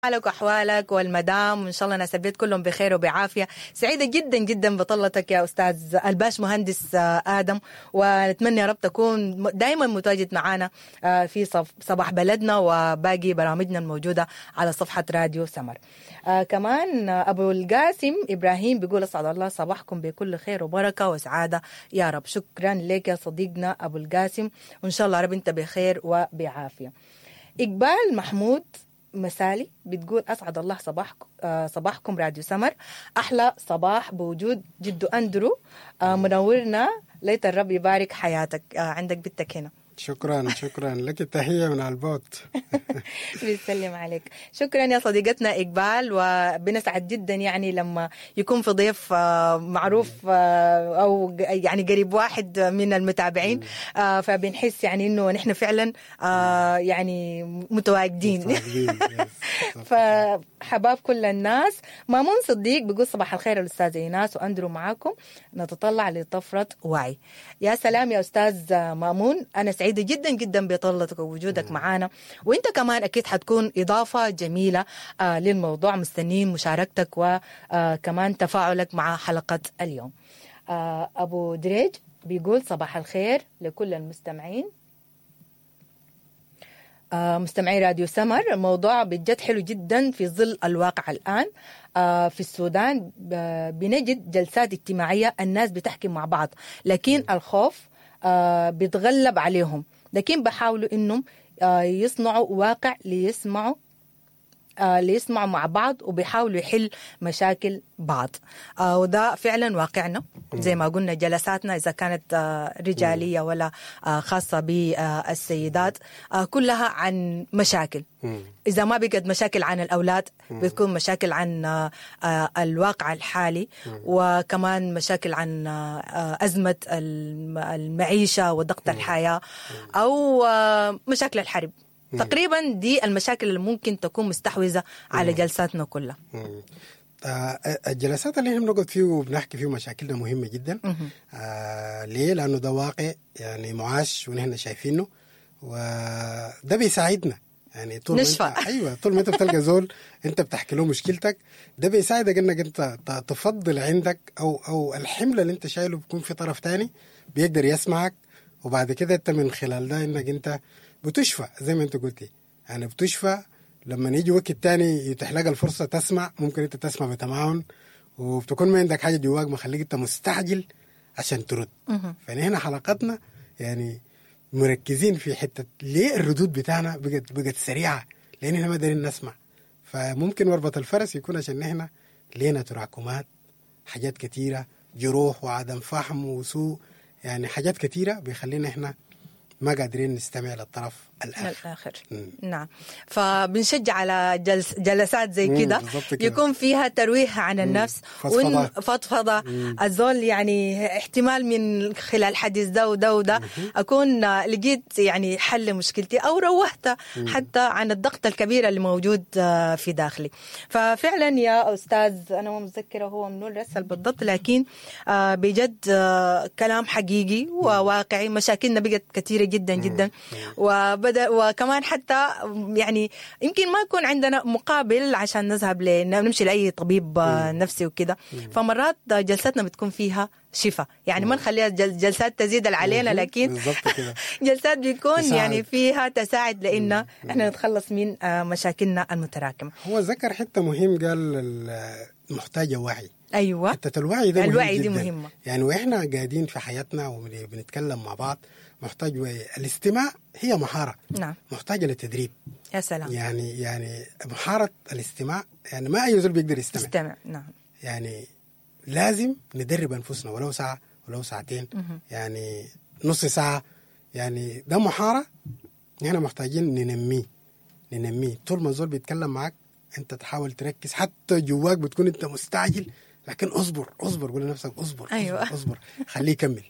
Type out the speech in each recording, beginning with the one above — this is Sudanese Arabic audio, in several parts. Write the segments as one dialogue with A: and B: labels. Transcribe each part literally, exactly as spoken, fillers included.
A: حالك واحوالك والمدام، وان شاء الله ناس البيت كلهم بخير وبعافيه. سعيدة جدا جدا بطلتك يا استاذ الباش مهندس ادم، ونتمنى يا رب تكون دائما متواجد معنا في صباح بلدنا وباقي برامجنا الموجودة على صفحة راديو سمر. آه كمان ابو القاسم ابراهيم بيقول اسعد الله صباحكم بكل خير وبركة وسعادة يا رب. شكرا لك يا صديقنا ابو القاسم، وان شاء الله رب انت بخير وبعافيه. اقبال محمود مسالي بتقول اسعد الله صباحكم، آه صباحكم راديو سمر، احلى صباح بوجود جدو اندرو، آه منورنا، ليت الرب يبارك حياتك. آه عندك بنتك هنا.
B: شكرا شكرا لك، التحية من البوت.
A: بيسلم عليك. شكرا يا صديقتنا إقبال، وبنسعد جدا يعني لما يكون في ضيف معروف أو يعني قريب واحد من المتابعين، فبنحس يعني إنه نحن فعلا يعني متواجدين. فحباب كل الناس. مامون صديق بيقول صباح الخير الأستاذ إيناس وأندرو، معاكم نتطلع لطفرة وعي. يا سلام يا أستاذ مامون، أنا سعيد سعيدة جدا جدا بطلتك ووجودك معانا، وانت كمان اكيد حتكون اضافة جميلة آه للموضوع. مستنين مشاركتك وكمان تفاعلك مع حلقة اليوم. آه ابو دريج بيقول صباح الخير لكل المستمعين، آه مستمعي راديو سمر. الموضوع بجد حلو جدا في ظل الواقع الآن آه في السودان. بنجد جلسات اجتماعية الناس بتحكي مع بعض، لكن الخوف آه بيتغلب عليهم، لكن بحاولوا انهم آه يصنعوا واقع ليسمعوا آه ليسمعوا مع بعض، وبيحاولوا يحل مشاكل بعض. آه وده فعلا واقعنا زي ما قلنا، جلساتنا إذا كانت آه رجالية ولا آه خاصة بالسيدات آه كلها عن مشاكل. إذا ما بقت مشاكل عن الأولاد بتكون مشاكل عن آه الواقع الحالي، وكمان مشاكل عن آه أزمة المعيشة وضغط الحياة، أو آه مشاكل الحرب. تقريبا دي المشاكل اللي ممكن تكون مستحوذة على جلساتنا كلها.
B: آه الجلسات اللي احنا بنقعد فيه وبنحكي فيه مشاكلنا مهمة جدا. آه ليه؟ لأنه ده واقع يعني معاش ونحن شايفينه، وده بيساعدنا يعني طول
A: نشفى.
B: ما انت ايوه طول ما انت بتلقى زول انت بتحكي له مشكلتك، ده بيساعدك انك انت تفضل عندك او او الحمل اللي انت شايله بيكون في طرف تاني بيقدر يسمعك، وبعد كده انت من خلال ده انك انت بتشفى زي ما انت قلتي. يعني بتشفى لما يجي وقت تاني يتيح لك الفرصة تسمع، ممكن انت تسمع بتمعن وبتكون ما عندك حاجة جواك مخليك انت مستعجل عشان ترد. فنحن حلقتنا يعني مركزين في حتة ليه الردود بتاعنا بقت بقت سريعة، لان احنا ما قادرين نسمع. فممكن مربط الفرس يكون عشان نحن لينا تراكمات، حاجات كتيرة، جروح وعدم فهم وسوء، يعني حاجات كتيرة بيخلينا احنا ما قادرين نستمع للطرف الآخر.
A: الآخر. مم. نعم، فبنشجع على جلس جلسات زي كده يكون فيها ترويح عن النفس، فضفضة. الزول يعني احتمال من خلال حديث ده وده وده أكون لقيت يعني حل مشكلتي، أو روحت حتى عن الضغط الكبير اللي موجود في داخلي. ففعلا يا أستاذ، أنا ما متذكرة هو منو رسل بالضبط، لكن بجد كلام حقيقي وواقعي. مشاكلنا بقت كثيرة جدا جدا، وبدأ وكمان حتى يعني يمكن ما يكون عندنا مقابل عشان نذهب نمشي لأي طبيب نفسي وكده. فمرات جلستنا بتكون فيها شفاء، يعني ما نخليها جلسات تزيد علينا، لكن جلسات بيكون يعني فيها تساعد لأن احنا نتخلص من مشاكلنا المتراكمة.
B: هو ذكر حتة مهم، قال محتاجة وعي.
A: ايوه،
B: حتة الوعي ده
A: الوعي دي مهمة.
B: يعني واحنا قاعدين في حياتنا وبنتكلم مع بعض محتاج وعي. الاستماع هي مهارة.
A: نعم،
B: محتاجه لتدريب.
A: يا سلام.
B: يعني يعني مهارة الاستماع، يعني ما اي زول بيقدر يستمع.
A: يستمع، نعم.
B: يعني لازم ندرب انفسنا ولو ساعة ولو ساعتين،
A: مه.
B: يعني نص ساعة، يعني ده مهارة نحن محتاجين ننميه ننميه. طول ما الزول بيتكلم معك انت تحاول تركز، حتى جواك بتكون انت مستعجل، لكن اصبر اصبر، قول لنفسك اصبر.
A: أيوة.
B: اصبر, أصبر. خليه يكمل،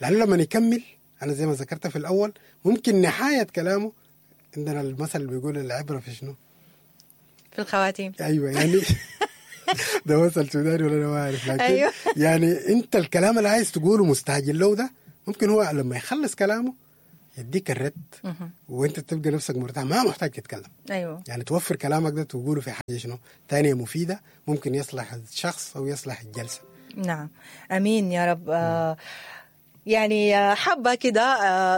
B: لانه لما يكمل انا زي ما ذكرت في الاول ممكن نهاية كلامه، عندنا المثل اللي بيقول العبرة في شنو؟
A: في الخواتيم.
B: ايوه يعني ده مثل سوداني ولا انا ما عارف، لكن
A: أيوة.
B: يعني انت الكلام اللي عايز تقوله مستعجل له ده، ممكن هو لما يخلص كلامه يديك الرد وانت تبقى نفسك مرتاح، ما محتاج تتكلم.
A: ايوه
B: يعني توفر كلامك ده تقوله في حاجة شنو تانية مفيدة ممكن يصلح الشخص او يصلح الجلسة.
A: نعم، امين يا رب. آه يعني حابة كده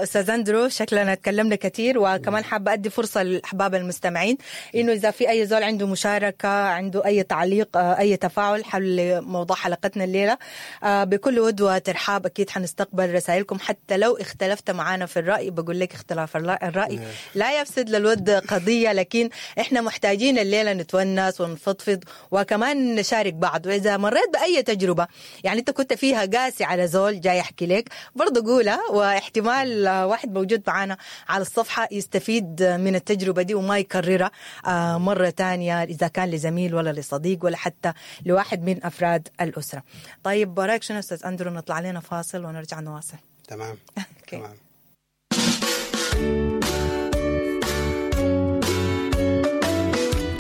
A: أستاذ أندرو، شكلنا تكلمنا كثير، وكمان حابة أدي فرصة للأحباب المستمعين إنه إذا في أي زول عنده مشاركة، عنده أي تعليق، أي تفاعل حول موضوع حلقتنا الليلة، بكل ود وترحاب أكيد حنستقبل رسائلكم، حتى لو اختلفت معانا في الرأي. بقول لك اختلاف الرأي لا يفسد للود قضية، لكن إحنا محتاجين الليلة نتونس ونفضفض وكمان نشارك بعض. وإذا مريت بأي تجربة يعني أنت كنت فيها قاسي على زول جاي يحكي لك، برضو قولها، واحتمال واحد موجود معانا على الصفحة يستفيد من التجربة دي وما يكررها مرة تانية، إذا كان لزميل ولا لصديق ولا حتى لواحد من أفراد الأسرة. طيب برأيك شنو أستاذ أندرو نطلع لنا فاصل ونرجع نواصل؟
B: تمام. تمام.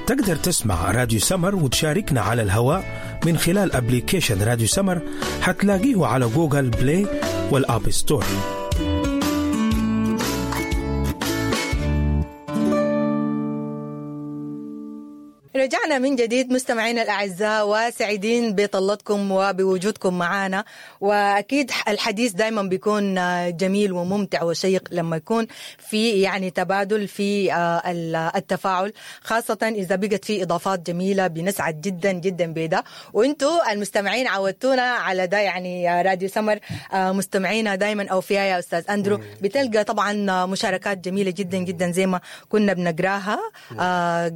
C: تقدر تسمع راديو سمر وتشاركنا على الهواء من خلال application راديو سمر، حتلاقيه على Google Play وال App Store.
A: رجعنا من جديد مستمعينا الأعزاء، وسعيدين بطلتكم وبوجودكم معنا. وأكيد الحديث دايما بيكون جميل وممتع وشيق لما يكون في يعني تبادل في التفاعل، خاصة إذا بقت في إضافات جميلة، بنسعد جدا جدا بده. وإنتوا المستمعين عودتونا على ده، يعني راديو سمر مستمعينا دايما أوفياء يا أستاذ أندرو، بتلقى طبعا مشاركات جميلة جدا جدا زي ما كنا بنقراها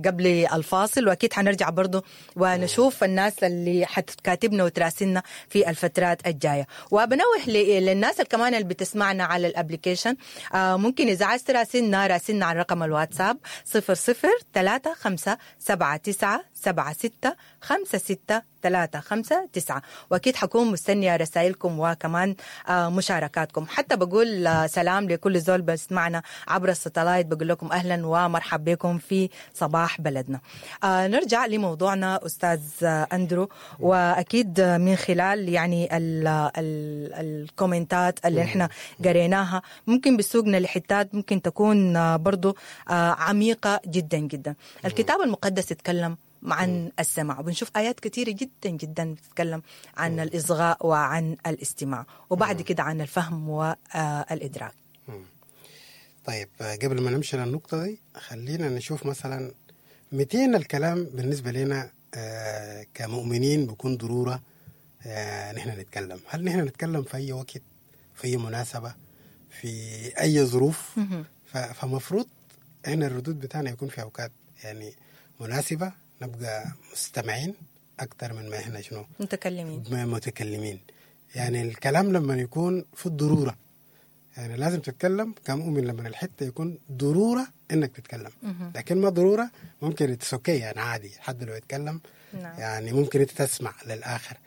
A: قبل الفاصل. وأكيد حنرجع برضو ونشوف الناس اللي حتكاتبنا وتراسلنا في الفترات الجاية. وبنوه للناس كمان اللي بتسمعنا على ال application، ممكن إذا عايز تراسلنا راسلنا على رقم الواتساب صفر صفر ثلاثة خمسة سبعة تسعة سبعة ستة خمسة ستة ثلاثة خمسة تسعة. وأكيد حكون مستنية رسائلكم وكمان مشاركاتكم. حتى بقول سلام لكل زول بسمعنا عبر ال satellite، بقول لكم أهلا ومرحب بكم في صباح بلدنا. نرجع لموضوعنا أستاذ أندرو، وأكيد من خلال يعني ال ال الكومنتات اللي احنا قريناها ممكن بسوقنا لحتات ممكن تكون برضو عميقة جدا جدا. الكتاب المقدس يتكلم عن السماع، وبنشوف آيات كثيرة جدا جدا بتتكلم عن الإصغاء وعن الاستماع، وبعد كده عن الفهم والإدراك.
B: طيب قبل ما نمشي للنقطة دي خلينا نشوف مثلا متين الكلام بالنسبة لنا كمؤمنين بيكون ضرورة نحن نتكلم. هل نحن نتكلم في أي وقت، في أي مناسبة، في أي ظروف؟ فمفروض إحنا الردود بتاعنا يكون في أوقات يعني مناسبة، نبقى مستمعين أكثر من ما إحنا شنو
A: متكلمين
B: متكلمين. يعني الكلام لما يكون في الضرورة، يعني لازم تتكلم كمؤمن لما الحتة يكون ضرورة إنك تتكلم، لكن ما ضرورة ممكن تسوكي يعني عادي حد لو يتكلم. نعم. يعني ممكن أنت تسمع للآخر.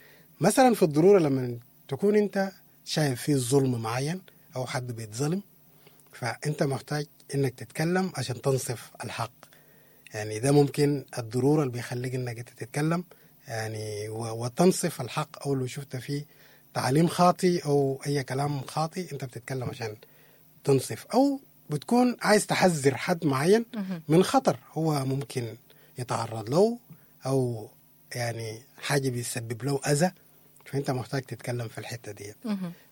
B: مثلا في الضرورة لما تكون أنت شايف فيه ظلم معين أو حد بيتظلم، فأنت محتاج إنك تتكلم عشان تنصف الحق. يعني ده ممكن الضرورة اللي بيخليك إنك أنت تتكلم يعني وتنصف الحق، أو لو شفت فيه تعليم خاطئ أو أي كلام خاطئ أنت بتتكلم عشان تنصف، أو بتكون عايز تحذر حد معين من خطر هو ممكن يتعرض له، أو يعني حاجة بيسبب له أذى، فأنت محتاج تتكلم في الحتة دي.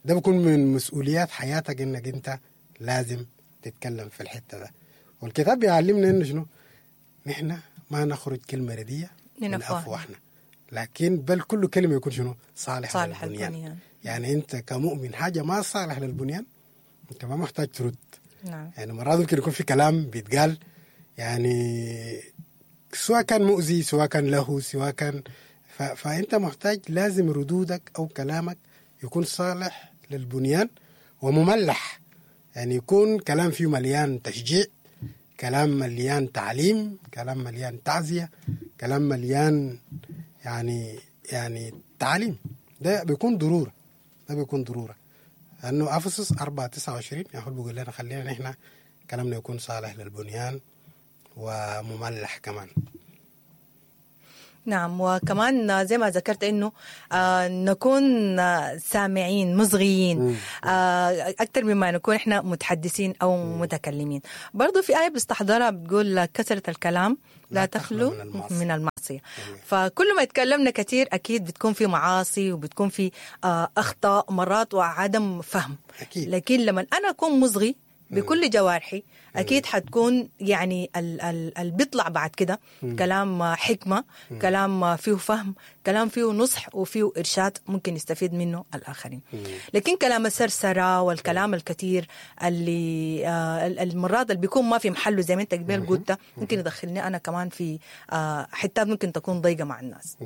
B: ده بيكون من مسؤوليات حياتك إنك أنت لازم تتكلم في الحتة ده. والكتاب بيعلمنا إنه شنو، نحن ما نخرج كلمة ردية من أفواهنا، لكن بل كل كلمة يكون شنو صالح, صالح للبنيان. البنيان. يعني أنت كمؤمن حاجة ما صالح للبنيان أنت ما محتاج ترد. نعم. يعني مرات ممكن يكون في كلام بيتقال يعني سواء كان مؤذي، سواء كان له، سواء كان ف... فأنت محتاج لازم ردودك أو كلامك يكون صالح للبنيان ومملح، يعني يكون كلام فيه مليان تشجيع، كلام مليان تعليم، كلام مليان تعزية، كلام مليان يعني يعني تعليم. ده بيكون ضرورة، ده بيكون ضرورة، لأنه أفسس أربعة تسعة وعشرين يقول بيقول لنا خلينا نحن كلامنا يكون صالح للبنيان ومملح كمان.
A: نعم، وكمان زي ما ذكرت انه آه نكون آه سامعين مصغيين آه اكثر مما نكون احنا متحدثين او مم. متكلمين. برضو في آية بستحضرها بتقول كثرة الكلام لا, لا تخلو من المعصية, من المعصية. فكل ما تكلمنا كثير اكيد بتكون في معاصي وبتكون في آه اخطاء مرات وعدم فهم.
B: أكيد.
A: لكن لما انا اكون مصغي بكل جوارحي اكيد حتكون يعني اللي بيطلع بعد كده كلام حكمه، كلام فيه فهم، كلام فيه نصح وفيه ارشاد ممكن يستفيد منه الاخرين. لكن كلام السرسره والكلام الكثير اللي آه المرات اللي بيكون ما في محله زي ما انت قبل قلت ممكن يدخلني انا كمان في آه حتات ممكن تكون ضيقه مع الناس.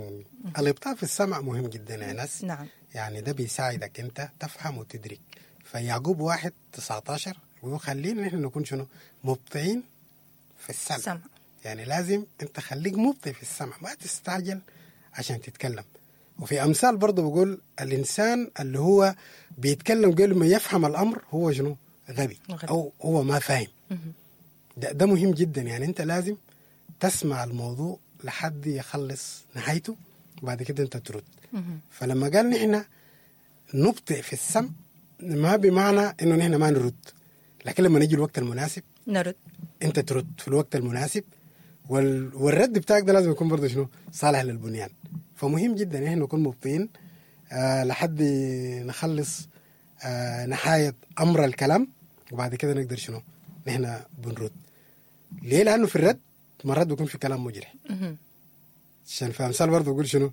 B: الابطاء في السمع مهم جدا يا ناس.
A: نعم.
B: يعني ده بيساعدك انت تفهم وتدرك. فيعقوب واحد تسعتاشر وخلينا نحن نكون شنو؟ مبطئين في السمع.
A: سمع.
B: يعني لازم انت خليك مبطئ في السمع، ما تستعجل عشان تتكلم. وفي امثال برضه بيقول الانسان اللي هو بيتكلم قبل ما يفهم الامر هو شنو؟ غبي،
A: غبي.
B: او هو ما فاهم. ده, ده مهم جدا. يعني انت لازم تسمع الموضوع لحد يخلص نهايته وبعد كده انت ترد. فلما قال نحن نبطئ في السمع ما بمعنى انه نحن ما نرد، لكن لما نيجي الوقت المناسب
A: نرد.
B: انت ترد في الوقت المناسب، وال... والرد بتاعك ده لازم يكون برضه شنو؟ صالح للبنيان. فمهم جدا احنا نكون مبطئين آه لحد نخلص آه نهاية امر الكلام، وبعد كده نقدر شنو؟ نحن بنرد. ليه؟ لانه في الرد مرات بيكون في كلام مجرح. عشان في امثال برضه بيقول شنو؟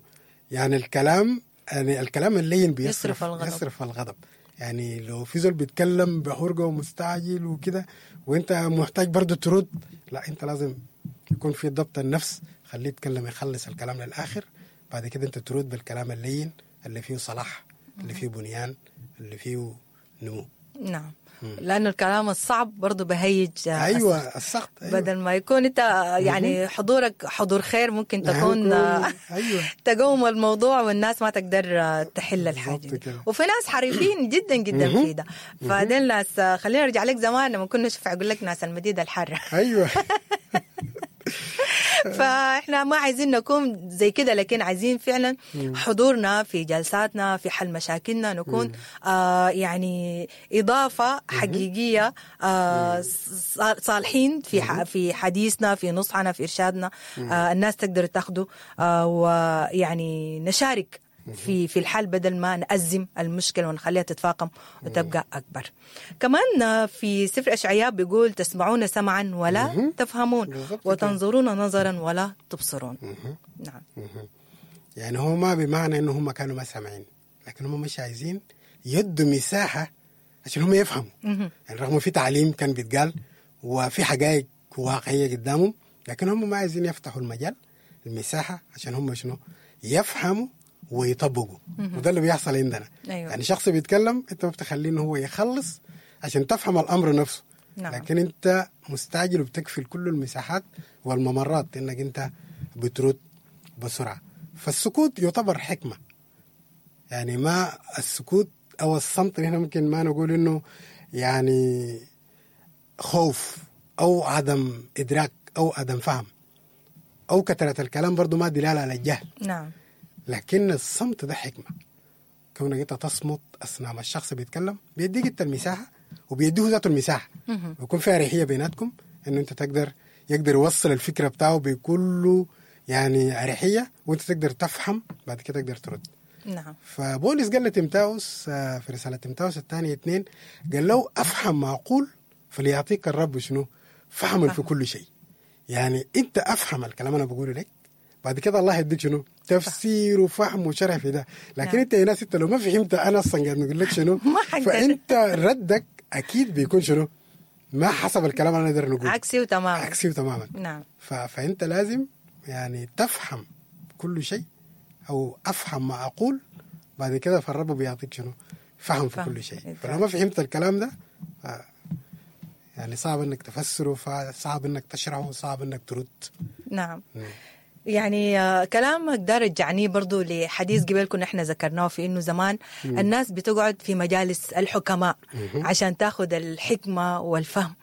B: يعني الكلام، يعني الكلام اللين بيصرف
A: يصرف الغضب.
B: يصرف الغضب. يعني لو في زول بيتكلم بحرقة ومستعجل وكده وانت محتاج برضو ترد، لا انت لازم يكون في ضبط النفس، خليه يتكلم يخلص الكلام للآخر، بعد كده انت ترد بالكلام اللين اللي فيه صلاح، اللي فيه بنيان، اللي فيه نمو.
A: نعم. لأنه الكلام الصعب برضو بهيج
B: أيوة السخط. أيوة.
A: بدل ما يكون أنت يعني حضورك حضور خير ممكن تكون
B: أيوة.
A: تقوم الموضوع والناس ما تقدر تحل الحاجة دي. وفي ناس حريفين جدا جدا في ده. فدين ناس، خلينا نرجع لك زمان لما كنا نشوف أقول لك ناس المديدة الحارة.
B: أيوة.
A: فاحنا ما عايزين نكون زي كده، لكن عايزين فعلا حضورنا في جلساتنا في حل مشاكلنا نكون آه يعني إضافة حقيقية، آه صالحين في في حديثنا، في نصحنا، في إرشادنا، آه الناس تقدر تاخده، آه ويعني نشارك في في الحل بدل ما نأزم المشكلة ونخليها تتفاقم وتبقى أكبر. كمان في سفر أشعياء بيقول تسمعون سمعا ولا تفهمون وتنظرون نظرا ولا تبصرون. نعم.
B: يعني هو ما بمعنى إنه هم كانوا ما سامعين، لكن هم مش عايزين يدوا مساحة عشان هم يفهموا. يعني رغم في تعليم كان بيتقال وفي حقائق واقعية قدامهم، لكن هم ما عايزين يفتحوا المجال المساحة عشان هم شنو؟ يفهموا ويطبقوا. وده اللي بيحصل عندنا.
A: أيوة.
B: يعني شخص بيتكلم انت ما بتخليه انه هو يخلص عشان تفهم الامر نفسه.
A: نعم.
B: لكن انت مستعجل وبتكفل كل المساحات والممرات انك انت بترد بسرعة. فالسكوت يعتبر حكمه. يعني ما السكوت او الصمت هنا ممكن ما نقول انه يعني خوف او عدم ادراك او عدم فهم او كثرة الكلام، برضو ما دلالة على الجهل.
A: نعم.
B: لكن الصمت ده حكمة. كونك انت تصمت أثناء ما الشخص بيتكلم بيديك انت المساحة وبيديه ذاته المساحة، ويكون في أريحية بيناتكم انه انت تقدر يقدر يوصل الفكرة بتاعه بكله يعني أريحية، وانت تقدر تفهم بعد كده تقدر ترد.
A: نعم.
B: فبولس قال لتيموثاوس في رسالة تيموثاوس الثانية اثنين قال له أفهم ما أقول فليعطيك الرب شنو؟ فهما في كل شيء. يعني انت أفهم الكلام أنا بقوله لك، بعد كده الله يديك شنو؟ تفسير وفهم وشرح في ده. لكن
A: نعم.
B: انت يا ناس انت لو ما فهمت انا اصلا قاعد نقول لك شنو، فانت ردك اكيد بيكون شنو؟ ما حسب الكلام اللي نقدر نقوله،
A: عكسي تماما.
B: عكسي تماما.
A: نعم.
B: ف... فانت لازم يعني تفهم كل شيء او افهم ما اقول، بعد كده فالرب بيعطيك شنو؟ فهم في كل شيء. فلو ما فهمت الكلام ده ف... يعني صعب انك تفسره، فصعب انك تشرحه، صعب انك ترد.
A: نعم.
B: مم.
A: يعني آه، كلامك ده رجعني برضو لحديث قبل كنا احنا ذكرناه في انه زمان الناس بتقعد في مجالس الحكماء عشان تاخذ الحكمة والفهم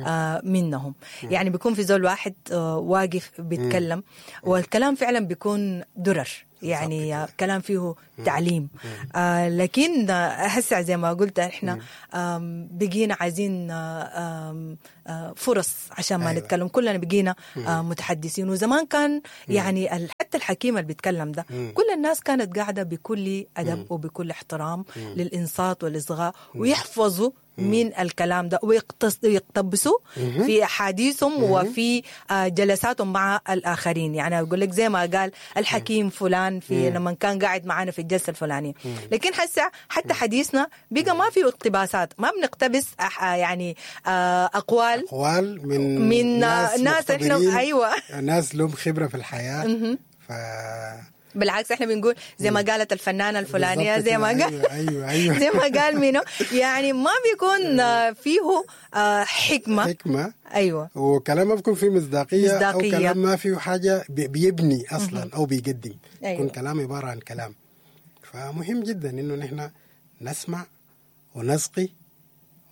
A: آه منهم. يعني بيكون في زول واحد آه واقف بيتكلم، والكلام فعلا بيكون درر، يعني آه، كلام فيه تعليم. آه لكن آه، هسه زي ما قلت احنا آم، بقينا عايزين آه، آم، آه، فرص عشان ما
B: أيوة.
A: نتكلم، كلنا بقينا آه، متحدثين. وزمان كان يعني ال- حتى الحكيم اللي بيتكلم ده كل الناس كانت قاعدة بكل أدب وبكل احترام للإنصات والإصغاء، ويحفظوا من الكلام ده ويقتص- ويقتبسوا في أحاديثهم وفي آه، جلساتهم مع الآخرين. يعني أقول لك زي ما قال الحكيم فلان في لما كان قاعد معنا في الجلسة الفلانية. لكن هسه حتى حديثنا بقى ما فيه اقتباسات، ما بنقتبس أح- يعني آه، أقوال
B: اقوال من
A: من
B: ناس,
A: ناس إحنا-
B: مختبرين،
A: أيوة.
B: ناس لهم خبره في الحياة. ف
A: بالعكس احنا بنقول زي ما قالت الفنانة الفلانية،
B: بالظبط
A: زي ما
B: كده.
A: قال
B: ايوه ايوه, أيوة.
A: زي ما قال مينو، يعني ما بيكون آه، فيه آه، حكمه.
B: حكمه
A: ايوه
B: وكلام ما بيكون فيه مصداقية,
A: مصداقية.
B: او كلام ما فيه حاجة بي- بيبني اصلا او بيقدم.
A: أيوة.
B: يكون كلام عبارة عن كلام. فمهم جدا انه نحن نسمع ونسقي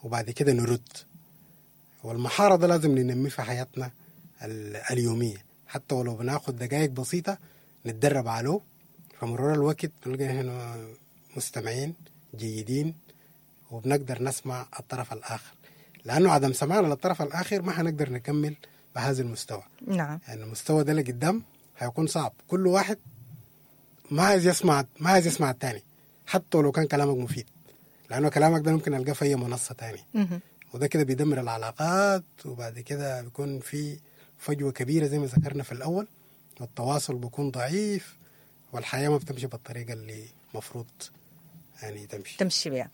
B: وبعد كده نرد. والمهاره ده لازم ننميه في حياتنا ال- اليومية، حتى ولو بناخد دقائق بسيطة نتدرب عليه. فمرور الوقت بنلقى نحن مستمعين جيدين وبنقدر نسمع الطرف الآخر، لأنه عدم سماعنا للطرف الآخر ما حنقدر نكمل بهذا المستوى.
A: نعم
B: يعني المستوى ده لقدام هيكون صعب. كل واحد ما عايز يسمع ما عايز يسمع الثاني، حتى لو كان كلامك مفيد، لأنه كلامك ده ممكن ألقاه في أي منصة تانية.
A: مهم.
B: وده كده بيدمر العلاقات، وبعد كده بيكون في فجوة كبيرة زي ما ذكرنا في الأول، والتواصل بيكون ضعيف، والحياة ما بتمشي بالطريقة اللي مفروض يعني تمشي.
A: تمشي بها.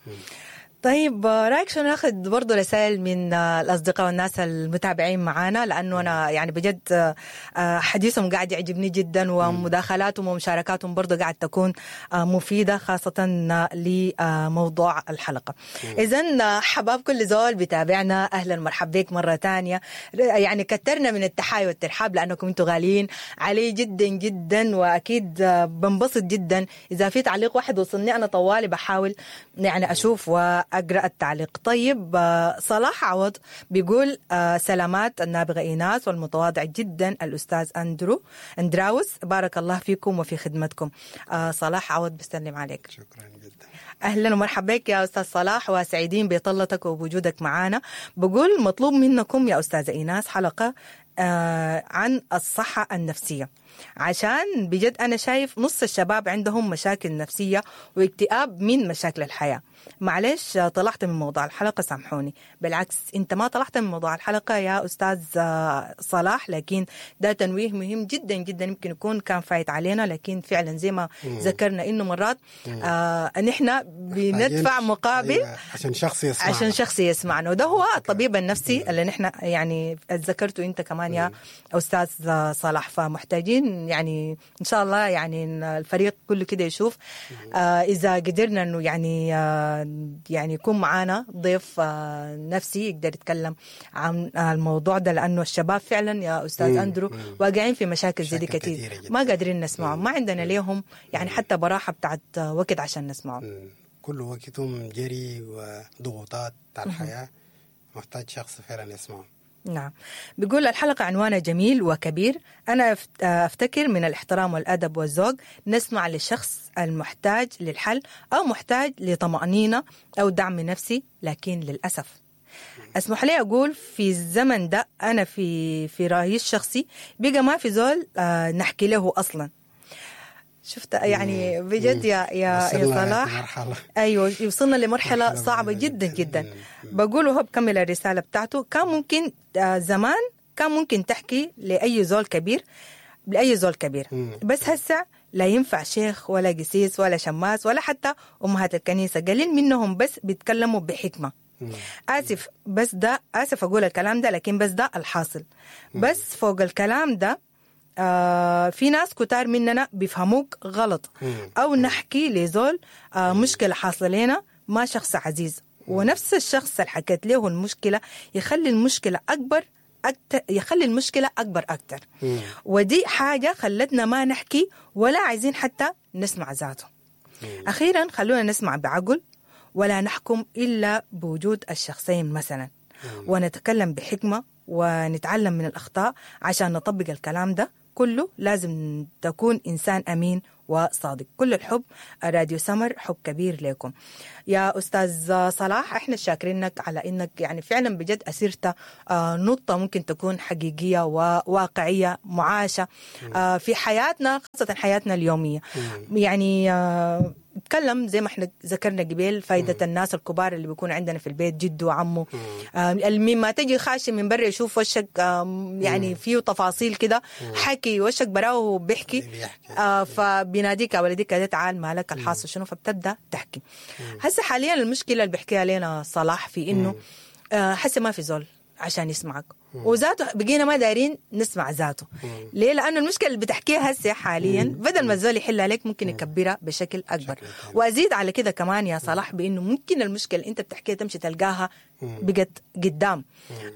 A: طيب آه، رايك شنو ناخذ برضه رسائل من آه، الاصدقاء والناس المتابعين معانا، لانه انا يعني بجد آه، آه، حديثهم قاعد يعجبني جدا، ومداخلاتهم ومشاركاتهم برضه قاعد تكون آه، مفيدة خاصة آه، لموضوع الحلقة. اذا حباب كل زول بيتابعنا، اهلا مرحبا بك مرة ثانية. يعني كترنا من التحايا والترحاب لانكم انتم غاليين علي جدا جدا، واكيد آه، بنبسط جدا اذا في تعليق واحد وصلني انا طوالي بحاول يعني اشوف واقرا التعليق. طيب آه، صلاح عوض بيقول آه، سلامات النابغة ايناس والمتواضع جدا الاستاذ اندرو اندراوس، بارك الله فيكم وفي خدمتكم. آه، صلاح عوض بسلم عليك.
B: شكرا جدا.
A: اهلا ومرحبا بك يا استاذ صلاح، وسعيدين بطلتك وبوجودك معنا. بقول مطلوب منكم يا استاذه ايناس حلقة آه عن الصحة النفسية، عشان بجد انا شايف نص الشباب عندهم مشاكل نفسية واكتئاب من مشاكل الحياة. معلش آه، طلعت من موضوع الحلقة سامحوني. بالعكس انت ما طلعت من موضوع الحلقة يا استاذ آه، صلاح، لكن ده تنويه مهم جدا جدا، يمكن يكون كان فايت علينا، لكن فعلا زي ما ذكرنا انه مرات آه نحن بندفع مقابل
B: أيوة، عشان شخص يسمع
A: عشان شخص يسمعنا، وده هو الطبيب النفسي اللي نحن يعني ذكرته انت كمان يا استاذ صلاح. فمحتاجين يعني ان شاء الله يعني إن الفريق كله كده يشوف آه اذا قدرنا انه يعني آه يعني يكون معانا ضيف آه نفسي يقدر يتكلم عن الموضوع ده، لانه الشباب فعلا يا استاذ
B: مم.
A: اندرو واقعين في مشاكل زي دي
B: مشاكل
A: كتير،
B: كتيرة جداً.
A: ما قادرين نسمعهم، ما عندنا ليهم يعني حتى براحة بتاعت وقت عشان نسمعهم.
B: مم. كل وقتهم جري وضغوطات على الحياة، محتاج شخص فعلا يسمعه.
A: نعم. بيقول الحلقة عنوانها جميل وكبير. أنا أفت- أفتكر من الاحترام والأدب والذوق نسمع للشخص المحتاج للحل أو محتاج لطمأنينة أو دعم نفسي، لكن للأسف اسمح لي أقول في الزمن ده أنا في في رأيي الشخصي بقى ما في زول آه، نحكي له أصلا. شفت يعني بجد يا يا يا
B: وصلنا
A: صلاح
B: لمرحلة.
A: ايوه وصلنا لمرحلة
B: مرحلة
A: صعبة
B: بعيدة
A: جدا
B: جداً.
A: جدا. بقول وهو بكمل الرسالة بتاعته، كان ممكن آه، زمان كان ممكن تحكي لاي زول كبير، لاي زول كبير،
B: مم.
A: بس هسه لا ينفع شيخ ولا قسيس ولا شماس ولا حتى امهات الكنيسة، قليل منهم بس بيتكلموا بحكمه. اسف بس ده اسف اقول الكلام ده، لكن بس ده الحاصل. بس فوق الكلام ده آه في ناس كتار مننا بيفهموك غلط، او نحكي لزول آه مشكلة حاصله لنا ما شخص عزيز، ونفس الشخص اللي حكيت له المشكلة يخلي المشكلة اكبر أكتر، يخلي المشكلة أكبر أكتر. ودي حاجة خلتنا ما نحكي ولا عايزين حتى نسمع ذاته. أخيرا خلونا نسمع بعقل ولا نحكم إلا بوجود الشخصين مثلا، ونتكلم بحكمة ونتعلم من الأخطاء عشان نطبق الكلام ده كله. لازم تكون إنسان أمين وصادق. كل الحب راديو سمر، حب كبير لكم يا أستاذ صلاح. احنا شاكرينك على إنك يعني فعلا بجد أسرت نقطة ممكن تكون حقيقية وواقعية معاشة في حياتنا، خاصة حياتنا اليومية. يعني تكلم زي ما احنا ذكرنا قبل فايدة مم. الناس الكبار اللي بيكون عندنا في البيت، جده وعمه، مما تجي خاشي من برا يشوف وشك يعني فيه تفاصيل كده، حكي وشك براه بيحكي، آه فبيناديك يا ولدي كده تعال مالك الحاصل شنو، فبتبدا تحكي. هسه حاليا المشكلة اللي بيحكيها لنا صلاح في انه آه هسه ما في زول عشان يسمعك، وذاته بقينا ما دايرين نسمع ذاته. ليه؟ لأنه المشكلة اللي بتحكيها هسه حاليا بدل ما الزول يحلها لك ممكن يكبرها بشكل أكبر. وأزيد على كده كمان يا صلاح بأنه ممكن المشكلة اللي أنت بتحكيها تمشي تلقاها بقت قدام،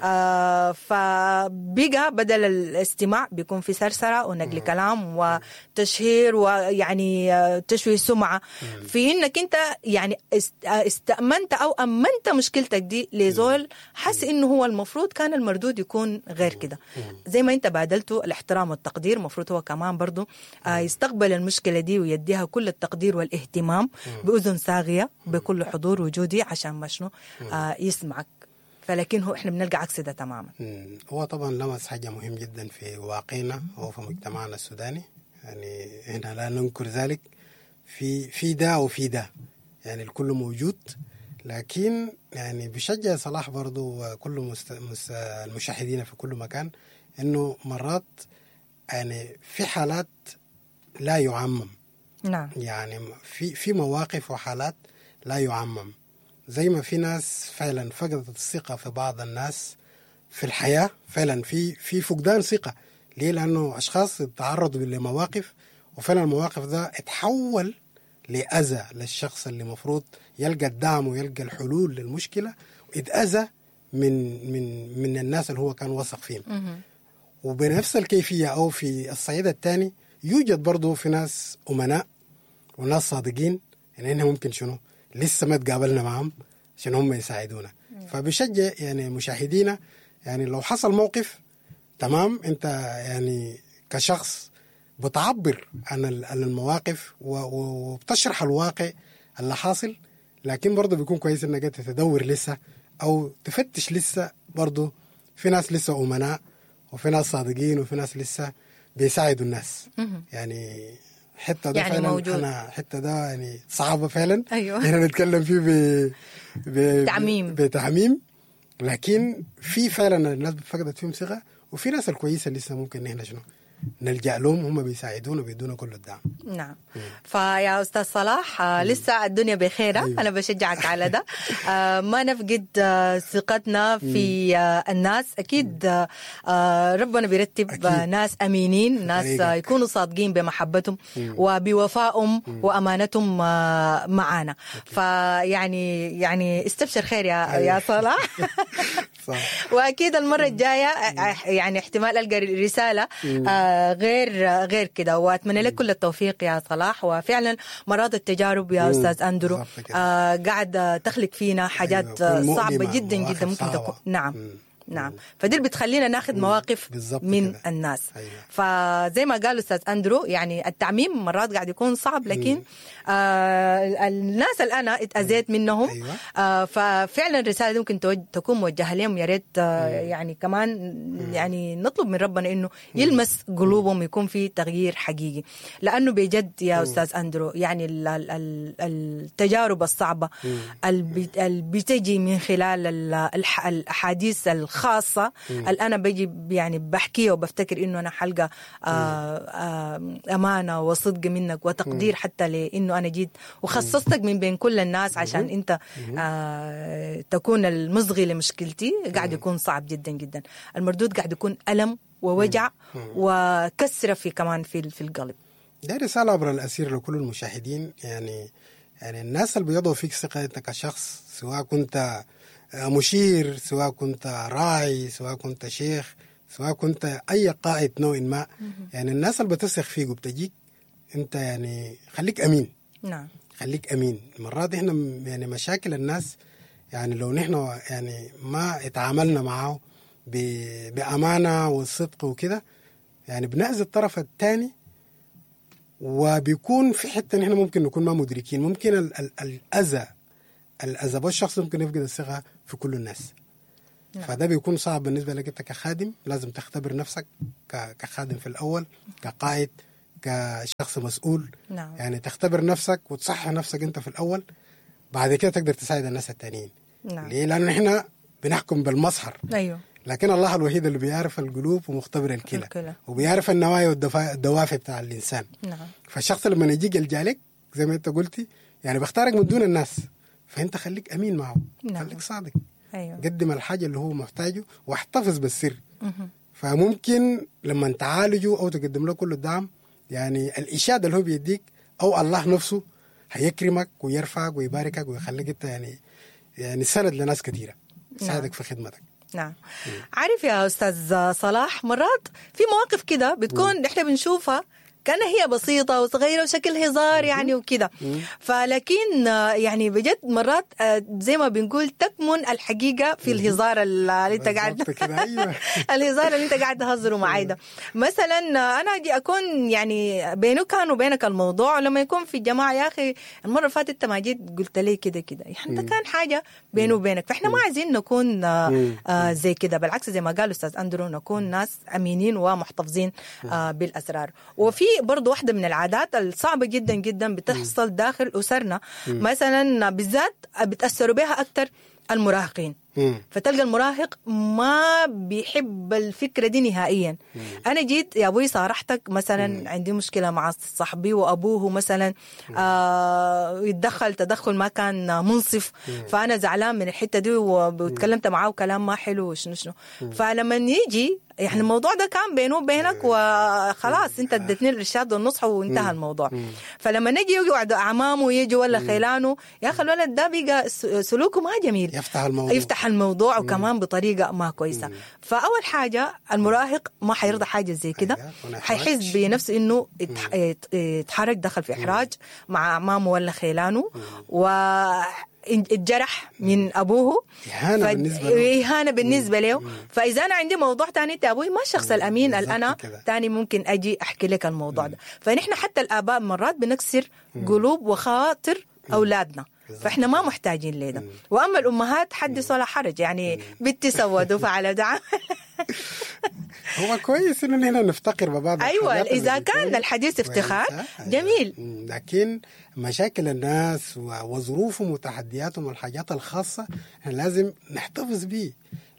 A: آه فبقى بدل الاستماع بيكون في سرسرة ونقل كلام وتشهير ويعني تشويه سمعة في إنك أنت يعني استأمنت أو أمنت مشكلتك دي لزول حس إنه هو المفروض كان المردود يكون غير كده. زي ما انت بادلته الاحترام والتقدير، مفروض هو كمان برضو آه يستقبل المشكلة دي ويديها كل التقدير والاهتمام بأذن صاغية بكل حضور وجودي عشان ما شنو آه يسمعك. فلكن هو احنا بنلقى عكس ده تماما.
B: هو طبعا لمس حاجة مهم جدا في واقعنا وفي مجتمعنا السوداني، يعني هنا لا ننكر ذلك، في في ده وفي ده، يعني الكل موجود. لكن يعني بشجع صلاح برضو وكل مست... مست... المشاهدين في كل مكان انه مرات يعني في حالات لا يعمم.
A: نعم.
B: يعني في في مواقف وحالات لا يعمم، زي ما في ناس فعلا فقدت الثقة في بعض الناس في الحياة، فعلا في في فقدان ثقة. ليه؟ لأنه أشخاص تعرضوا لمواقف وفعلا المواقف ده اتحول لأذى للشخص اللي مفروض يلقى الدعم ويلقى الحلول للمشكلة، ويتأذى من من من الناس اللي هو كان وثق فيهم. وبنفس الكيفية أو في الصعيد الثاني يوجد برضو في ناس أمناء وناس صادقين، يعني إنهم ممكن شنو لسه ما تقابلنا معهم عشان هم يساعدونا. فبشجع يعني مشاهدينا، يعني لو حصل موقف تمام، أنت يعني كشخص بتعبر عن المواقف وبتشرح الواقع اللي حاصل، لكن برضه بيكون كويس انك انت تدور لسه او تفتش لسه. برضه في ناس لسه امناء وفي ناس صادقين وفي ناس لسه بيساعدوا الناس. يعني حتة ده
A: يعني
B: فعلا
A: موجود.
B: انا حتة ده يعني صعبة فعلا.
A: أيوة.
B: هنا نتكلم فيه ب... ب...
A: تعميم.
B: بتعميم، لكن في فعلا الناس فقدت فيهم ثقة، وفي ناس الكويسة لسه ممكن نحن شنو نلجأ لهم، هم بيساعدونا وبيدونا كل الدعم.
A: نعم. فيا أستاذ صلاح آه لسه الدنيا بخيرة.
B: أيوة.
A: أنا بشجعك على ده. آه ما نفقد آه ثقتنا في آه الناس. أكيد آه ربنا بيرتب
B: أكيد.
A: آه ناس أمينين، ناس آه
B: طريقك.
A: يكونوا صادقين بمحبتهم وبوفائهم وأمانتهم آه معانا. فيعني يعني استبشر خير يا
B: أيوة.
A: يا صلاح.
B: صح.
A: واكيد المرة الجاية يعني احتمال القى رسالة آه غير غير كده. واتمنى لك كل التوفيق يا صلاح. وفعلا مرات التجارب يا
B: مم.
A: استاذ اندرو
B: بالضبط كده.
A: آه قاعد تخلق فينا حاجات
B: أيوة،
A: آه،
B: تكون
A: صعبة
B: مؤلمة،
A: جدا
B: مواقف
A: جدا ممكن
B: صعبة.
A: تكون. نعم.
B: مم.
A: نعم. فدي اللي بتخلينا ناخذ مواقف
B: بالضبط
A: من
B: كده.
A: الناس.
B: أيوة.
A: فزي ما قال استاذ اندرو يعني التعميم مرات قاعد يكون صعب، لكن آه الناس اللي انا اتاذيت منهم.
B: أيوة.
A: آه ففعلا الرسالة دي ممكن توج- تكون موجهة لهم. يا ريت آه يعني كمان يعني نطلب من ربنا انه يلمس قلوبهم، يكون في تغيير حقيقي. لانه بجد يا استاذ اندرو يعني ال ال ال التجارب الصعبة اللي بتجي من خلال ال- الح- الاحاديث الخاصة اللي انا بجي يعني بحكيها وبفتكر انه انا حلقة آه آه امانه وصدق منك وتقدير حتى لانه انا جيت وخصصتك من بين كل الناس عشان انت آه تكون المصغي لمشكلتي، قاعد يكون صعب جدا جدا. المردود قاعد يكون الم ووجع وكسره في كمان في في القلب.
B: ده رسالة عبر الأسير لكل المشاهدين، يعني يعني الناس اللي بيضعوا فيك ثقة أنت كشخص، سواء كنت مشير، سواء كنت راعي، سواء كنت شيخ، سواء كنت اي قائد نوع ما، يعني الناس اللي بتثق فيك وبتجيك انت يعني خليك امين.
A: نعم
B: خليك امين. مرات احنا يعني مشاكل الناس يعني لو نحن يعني ما اتعاملنا معه بامانه والصدق وكده يعني بنأذي الطرف الثاني، وبيكون في حتة نحن ممكن نكون ما مدركين، ممكن ال ال الاذى الاذى بالشخص ممكن يفقد الثقة في كل الناس. نعم. فده بيكون صعب بالنسبة لك انت كخادم، لازم تختبر نفسك كخادم في الاول، كقائد، كشخص مسؤول.
A: نعم.
B: يعني تختبر نفسك وتصحح نفسك انت في الاول، بعد كده تقدر تساعد الناس التانيين.
A: نعم.
B: ليه؟ لانه احنا بنحكم بالمظهر.
A: ايوه.
B: لكن الله الوحيد اللي بيعرف القلوب ومختبر الكلى وبيعرف النوايا والدوافع بتاع الانسان.
A: نعم.
B: فالشخص لما يجيك يلجأ لك زي ما انت قلتي يعني بيختارك من دون الناس، فانت خليك امين معه.
A: نعم.
B: خليك صادق.
A: أيوه.
B: قدم الحاجة اللي هو محتاجه واحتفظ بالسر. مه. فممكن لما تعالجه او تقدم له كل الدعم يعني الاشادة اللي هو بيديك او الله نفسه هيكرمك ويرفعك ويباركك ويخليك انت يعني يعني سند لناس كثيرة يساعدك. نعم. في خدمتك.
A: نعم. عارف يا أستاذ صلاح، مرات في مواقف كده بتكون نحن بنشوفها كان هي بسيطة وصغيرة وشكل هزار يعني وكده، فلكن يعني بجد مرات زي ما بنقول تكمن الحقيقة في الهزار اللي انت قاعد الهزار اللي انت قاعد تهزره معاي ده. مثلا انا اجي اكون يعني بينه كان وبينك الموضوع، لما يكون في الجماعة يا اخي المرة اللي فاتت انت ما جيت قلت لي كده كده، يعني ده كان حاجة بينه وبينك، فاحنا ما عايزين نكون زي كده، بالعكس زي ما قال استاذ اندرو نكون ناس امينين ومحتفظين بالاسرار. وفي برضو واحدة من العادات الصعبة جدا جدا بتحصل داخل أسرنا، مثلا بالذات بتأثروا بها أكثر المراهقين. فتلقى المراهق ما بيحب الفكرة دي نهائيا. مم. أنا جيت يا أبوي صارحتك مثلا، مم. عندي مشكلة مع صاحبي وأبوه مثلا آه يتدخل تدخل ما كان منصف، مم. فأنا زعلان من الحتة دي وتكلمت معاه كلام ما حلو وشنو شنو. فلما يجي يعني الموضوع ده كان بينه وبينك وخلاص انت اديتني الارشاد والنصح وانتهى الموضوع. فلما نجي يقعد اعمامه يجي ولا خيلانه، يا اخي الولد ده بقى سلوكه ما جميل،
B: يفتح الموضوع
A: يفتح الموضوع وكمان بطريقة ما كويسة. فاول حاجة المراهق ما حيرضى حاجة زي كده، حيحس بنفسه انه اتحرج، دخل في احراج مع اعمامه ولا خيلانه، و اتجرح من ابوه،
B: اهانه ف... بالنسبة له،
A: اهانه بالنسبة له. فاذا انا عندي موضوع تاني انت ابوي ما الشخص الامين اللي انا تاني ممكن اجي احكي لك الموضوع ده. فنحن حتى الاباء مرات بنكسر قلوب وخاطر اولادنا، فاحنا ما محتاجين لده. واما الامهات حدث ولا حرج، يعني بنتي سوت وفعلت.
B: هو كويس انه نحن نفتقر ببعض.
A: ايوه اذا كان الحديث افتخار جميل،
B: لكن مشاكل الناس وظروفهم وتحدياتهم والحاجات الخاصة احنا لازم نحتفظ بيه،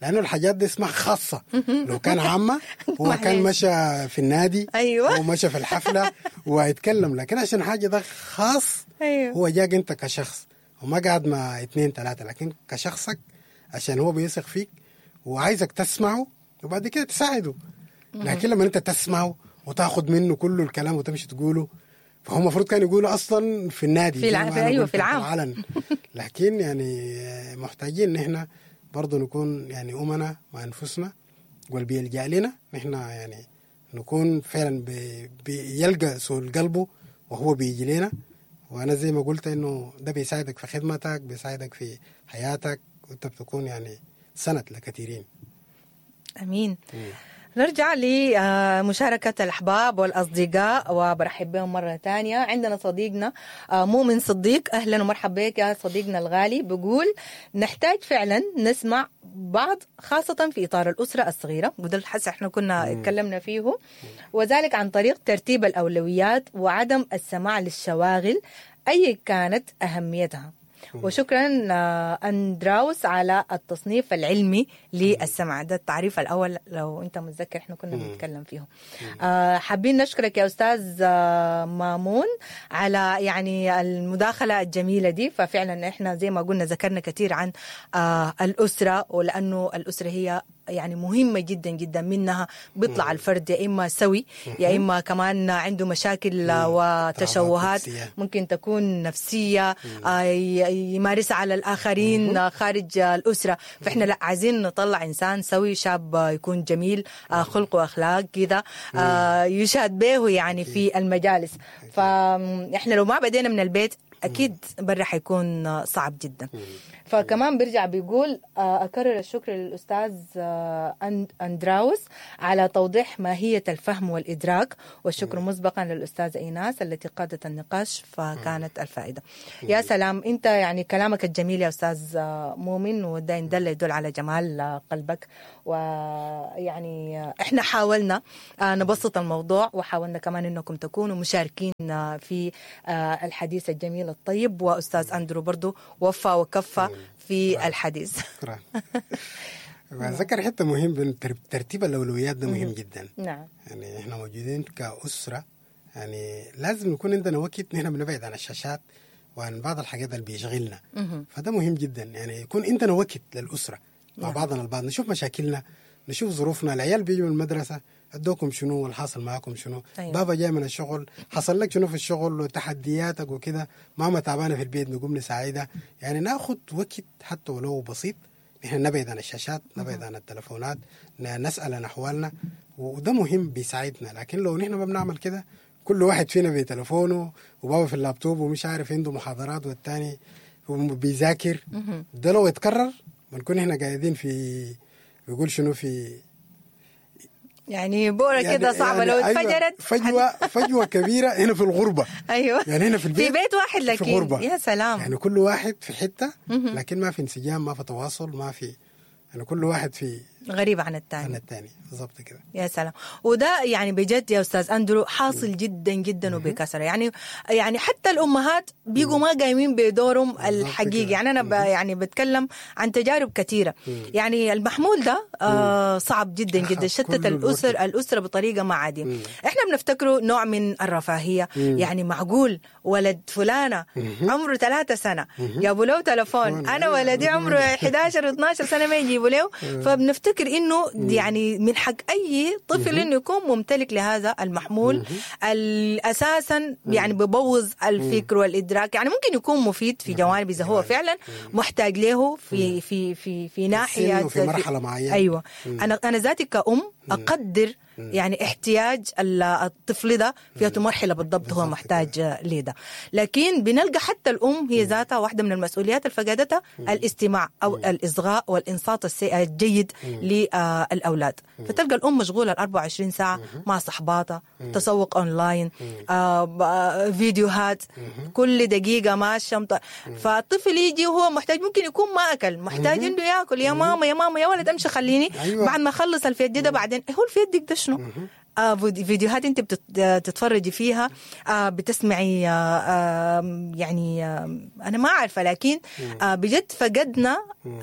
B: لانه الحاجات دي اسمها خاصة. لو كان عامة هو كان مشى في النادي،
A: ايوه،
B: هو مشى في الحفلة وهيتكلم، لكن عشان حاجة ده خاص،
A: أيوة.
B: هو جاك انت كشخص وما قاعد مع اثنين ثلاثة، لكن كشخصك عشان هو بيثق فيك وعايزك تسمعه وبعد كده تساعده. لكن لما انت تسمعه وتاخد منه كل الكلام وتمشي تقوله، فهو المفروض كان يقوله اصلا في النادي
A: في الع... في ايوه في العام
B: العلن. لكن يعني محتاجين ان احنا برضه نكون يعني امنا مع انفسنا، واللي بيلجأ لنا نحن يعني نكون فعلا بي... بيلقى سؤال قلبه وهو بيجي لنا. وانا زي ما قلت انه ده بيساعدك في خدمتك، بيساعدك في حياتك، وانت بتكون يعني سند لكثيرين.
A: امين. مم. نرجع لمشاركة الأحباب والأصدقاء وبرحب بهم مرة ثانية. عندنا صديقنا مؤمن صديق، أهلا ومرحبا بك يا صديقنا الغالي. بقول نحتاج فعلا نسمع بعض، خاصة في إطار الأسرة الصغيرة، وده الحس احنا كنا اتكلمنا فيه، وذلك عن طريق ترتيب الأولويات وعدم السماع للشواغل أي كانت أهميتها. وشكرا أندراوس على التصنيف العلمي للسمع، ده التعريف الأول لو أنت متذكر احنا كنا بنتكلم فيه. حابين نشكرك يا أستاذ مامون على يعني المداخلة الجميلة دي. ففعلا احنا زي ما قلنا ذكرنا كثير عن الأسرة، ولأنه الأسرة هي يعني مهمة جدا جدا، منها بيطلع الفرد يا إما سوي يا إما كمان عنده مشاكل وتشوهات ممكن تكون نفسية يمارسها على الآخرين خارج الأسرة. فإحنا لا عايزين نطلع إنسان سوي، شاب يكون جميل، خلق وأخلاق كده يشهد به يعني في المجالس. فإحنا لو ما بدينا من البيت أكيد برا حيكون صعب جدا. فكمان بيرجع بيقول أكرر الشكر للأستاذ أندراوس على توضيح ماهية الفهم والإدراك، والشكر مسبقا للأستاذة إيناس التي قادت النقاش فكانت الفائدة. يا سلام، أنت يعني كلامك الجميل يا أستاذ مؤمن، وده يدل يدل على جمال قلبك. ويعني إحنا حاولنا نبسط الموضوع، وحاولنا كمان أنكم تكونوا مشاركين في الحديث الجميل الطيب، وأستاذ أندرو برضو وفى وكفى في الحديث.
B: شكرا. ذكر حتة مهم، ترتيب الأولويات ده مهم جدا.
A: نعم.
B: يعني احنا موجودين كأسرة، يعني لازم يكون عندنا وقت نحن بنبعد عن الشاشات وعن بعض الحاجات اللي بيشغلنا، فده مهم جدا. يعني يكون عندنا وقت للأسرة مع بعضنا البعض، نشوف مشاكلنا، نشوف ظروفنا. العيال بيجوا من المدرسة، ادوكم شنو والحاصل معاكم شنو؟ أيوة. بابا جاي من الشغل، حصل لك شنو في الشغل وتحدياتك وكده، ماما تعبانة في البيت نقوم نساعدها. يعني ناخد وقت حتى ولو بسيط نحن نبعد عن الشاشات، نبعد عن التلفونات، نسأل عن أحوالنا، وده مهم بيساعدنا. لكن لو نحن ما بنعمل كده، كل واحد فينا بتلفونه وبابا في اللابتوب ومش عارف عنده محاضرات والتاني بيذاكر، ده لو اتكرر بنكون احنا قاعدين في بيقول شنو في
A: يعني بورة يعني كده صعبة. يعني لو اتفجرت
B: فجوة فجوة كبيرة هنا في الغربة.
A: أيوة.
B: يعني هنا في البيت،
A: في بيت واحد لكن
B: في غربة.
A: يا سلام،
B: يعني كل واحد في حتة، لكن ما في انسجام، ما في تواصل، ما في يعني كل واحد في
A: غريب عن الثاني
B: عن الثاني بالضبط كده.
A: يا سلام. وده يعني بجد يا استاذ اندرو حاصل جدا جدا وبكثرة. يعني يعني حتى الامهات بيجوا ما قايمين بدورهم الحقيقي. يعني انا ب يعني بتكلم عن تجارب كثيرة. يعني المحمول ده آه صعب جدا جدا، شتت الاسر الاسرة بطريقة ما عادية. احنا بنفتكره نوع من الرفاهية. يعني معقول ولد فلانه عمره ثلاثة سنة جابوا له تلفون، انا ولدي عمره احد عشر واثنا عشر سنة ما يجيبوا له. فبنفتكر انه يعني من حق اي طفل انه يكون ممتلك لهذا المحمول اساسا. يعني ببوظ الفكر والادراك. يعني ممكن يكون مفيد في جوانب اذا هو فعلا محتاج له في في في في ناحية
B: في مرحلة معينة.
A: ايوه. انا انا ذاتي كأم اقدر يعني احتياج الطفل ده في مرحلة بالضبط هو محتاج لده. لكن بنلقى حتى الام هي ذاتها واحدة من المسؤوليات اللي فقدتها الاستماع او الاصغاء والانصات الجيد للاولاد. فتلقى الام مشغولة ال أربعة وعشرين ساعة مع صحباتها، تسوق اونلاين، آه، فيديوهات، كل دقيقة ماشية. فالطفل يجي وهو محتاج، ممكن يكون ما اكل، محتاج انه ياكل. يا ماما يا ماما يا ولد امشي خليني
B: أيوة.
A: بعد ما اخلص الفيديو ده. بعدين هو الفيديو ده شنو؟ آه فيديوهات انت بتتفرجي فيها، آه بتسمعي، آه آه يعني آه انا ما عارفه، لكن آه بجد فقدنا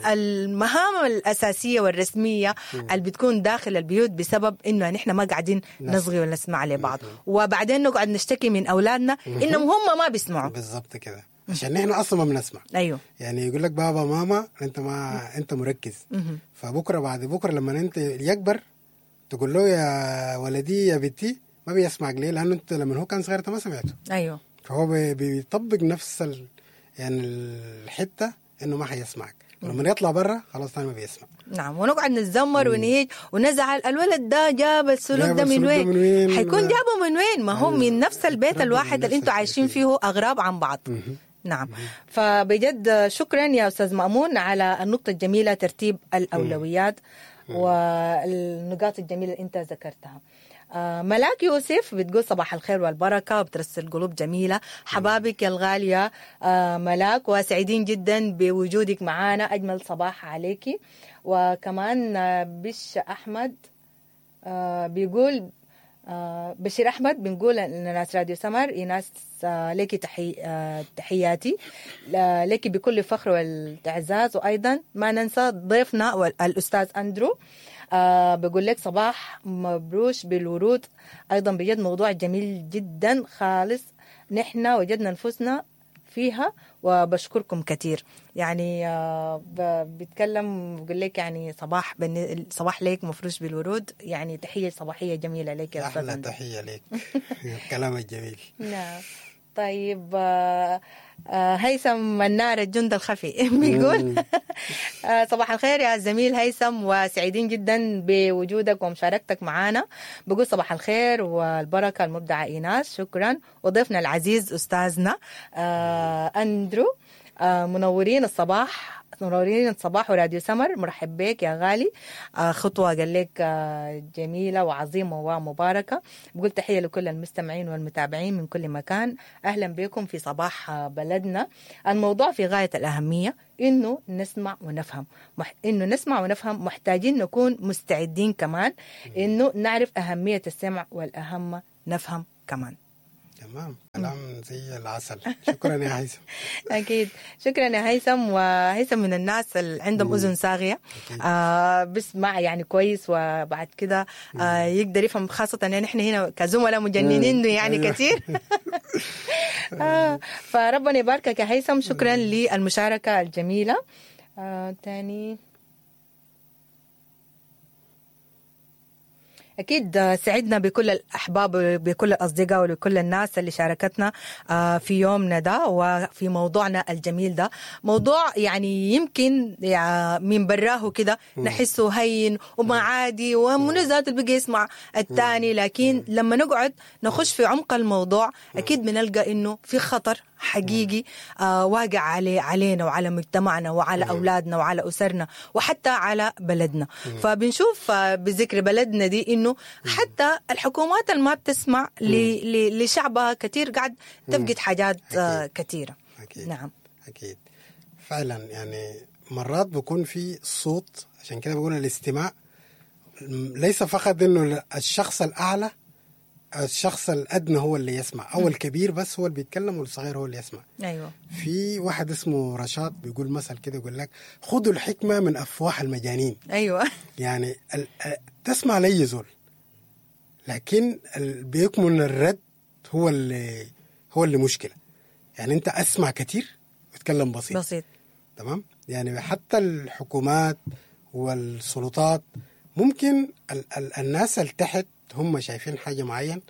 A: المهام الاساسية والرسميه اللي بتكون داخل البيوت بسبب انه نحن ما قاعدين نصغي ولا نسمع لبعض، وبعدين نقعد نشتكي من اولادنا انهم هم ما بيسمعوا.
B: بالضبط كده، عشان نحن اصلا ما بنسمع.
A: ايوه.
B: يعني يقول لك بابا ماما انت ما انت مركز. فبكرة بعد بكره لما انت يكبر تقول له يا ولدي يا بنتي ما بيسمعك. ليه؟ لانه انت لما هو كان صغير انت ما سمعته.
A: ايوه.
B: فهو بيطبق نفس ال... يعني الحتة انه ما حيسمعك، ولما يطلع برا خلاص ثاني ما بيسمع.
A: نعم. ونقعد نتذمر ونهيج ونزعل، الولد ده جاب السلوك ده من وين؟
B: وين؟
A: حيكون جابه من وين؟ ما هو من نفس البيت الواحد اللي انتم عايشين فيه اغراب عن بعض. نعم. فبجد شكرا يا استاذ مأمون على النقطة الجميلة، ترتيب الاولويات والنقاط الجميلة اللي انت ذكرتها. ملاك يوسف بتقول صباح الخير والبركة، وبترسل قلوب جميلة. حبابك يا الغالية ملاك، وسعيدين جدا بوجودك معانا، أجمل صباح عليكي. وكمان بش أحمد بيقول بشير أحمد بنقول إن ناس راديو سمر إيناس لك تحي... تحياتي لك بكل فخر والإعزاز. وأيضا ما ننسى ضيفنا الأستاذ أندرو، آه بقول لك صباح مبروش بالورود. أيضا بجد موضوع جميل جدا خالص، نحن وجدنا نفسنا فيها وبشكركم كثير. يعني آه، ب- بيتكلم بقول لك يعني صباح بن... صباح ليك مفروش بالورود، يعني تحية صباحية جميلة لك يا أستاذ
B: احلى
A: أندرو.
B: تحية لك، الكلام الجميل.
A: نعم. طيب آه، آه، هيثم منار الجند الخفي بيقول آه، صباح الخير يا زميل هيثم، وسعيدين جدا بوجودك ومشاركتك معنا. بقول صباح الخير والبركة المبدعة إيناس، شكرا. وضيفنا العزيز أستاذنا آه، أندرو، آه، منورين الصباح، منورين الصباح وراديو سمر، مرحب بك يا غالي. آه، خطوة قال لك آه، جميلة وعظيمة ومباركة. بقول تحية لكل المستمعين والمتابعين من كل مكان، أهلا بكم في صباح آه، بلدنا. الموضوع في غاية الأهمية، إنه نسمع ونفهم، مح... إنه نسمع ونفهم، محتاجين نكون مستعدين كمان إنه نعرف أهمية السمع، والأهم نفهم كمان.
B: تمام، كلام زي العسل. شكرا يا هيثم.
A: أكيد، شكرا يا هيثم. وهيثم من الناس اللي عندهم أذن صاغية، آه بسمع يعني كويس، وبعد كده آه يقدر يفهم، خاصة يعني إحنا هنا كزملاء مجننين يعني
B: أيوة.
A: كثير. آه فربنا يباركك يا هيثم، شكرا للمشاركة الجميلة. آه تاني أكيد سعدنا بكل الأحباب وبكل الأصدقاء وبكل الناس اللي شاركتنا آه، في يومنا ده وفي موضوعنا الجميل ده. موضوع يعني يمكن يع- من براه كده نحسه هين وما عادي ومنو ذاته اللي بقى يسمع الثاني، لكن لما نقعد نخش في عمق الموضوع أكيد بنلقى إنه في خطر حقيقي آه واقع علي علينا وعلى مجتمعنا وعلى أولادنا وعلى أسرنا وحتى على بلدنا. فبنشوف آه، بذكر بلدنا دي إنه حتى الحكومات اللي ما بتسمع ل- ل- لشعبها كثير قاعد تفقد حاجات آه كثيرة.
B: أكيد.
A: نعم.
B: أكيد فعلا، يعني مرات بيكون في صوت، عشان كده بقول الاستماع ليس فقط انه الشخص الاعلى، الشخص الادنى هو اللي يسمع، او الكبير بس هو اللي بيتكلم والصغير هو اللي يسمع.
A: أيوة.
B: في واحد اسمه رشاد بيقول مثل كده، يقول لك خذوا الحكمة من افواه المجانين.
A: أيوة.
B: يعني ال- تسمع لأي زول، لكن ال- بيكمن الرد هو اللي هو اللي مشكلة. يعني انت اسمع كتير وتكلم بسيط.
A: بسيط.
B: تمام. يعني حتى الحكومات والسلطات ممكن ال ال الناس اللي تحت هم شايفين حاجة معين،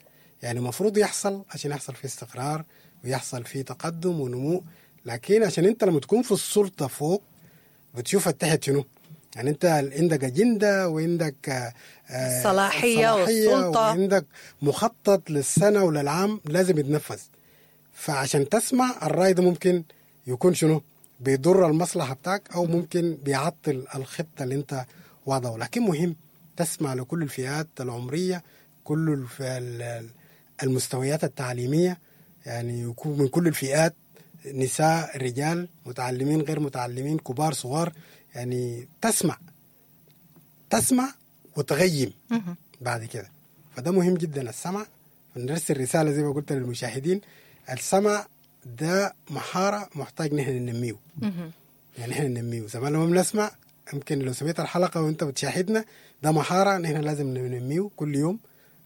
B: يعني المفروض يحصل عشان يحصل فيه استقرار ويحصل فيه تقدم ونمو، لكن عشان انت لما تكون في السلطة فوق بتشوف التحت شنو. يعني انت عندك اجندة وعندك آه، آه،
A: الصلاحية والسلطة.
B: وعندك مخطط للسنة وللعام لازم يتنفذ. فعشان تسمع الراي ده ممكن يكون شنو بيضر المصلحة بتاعك، او ممكن بيعطل الخطة اللي انت واضعه. لكن مهم تسمع لكل الفئات العمرية، كل الف- ال- المستويات التعليمية، يعني يكون من كل الفئات، نساء رجال، متعلمين غير متعلمين، كبار صغار. يعني تسمع تسمع وتغيم بعد كده. فده مهم جدا السمع. نرسل رسالة زي ما قلت للمشاهدين، السمع ده مهارة محتاج نحن ننميه. يعني نحن ننميه زمان لما بنسمع، يمكن لو سمعت الحلقة وانت بتشاهدنا، ده مهارة نحن لازم ننميه كل يوم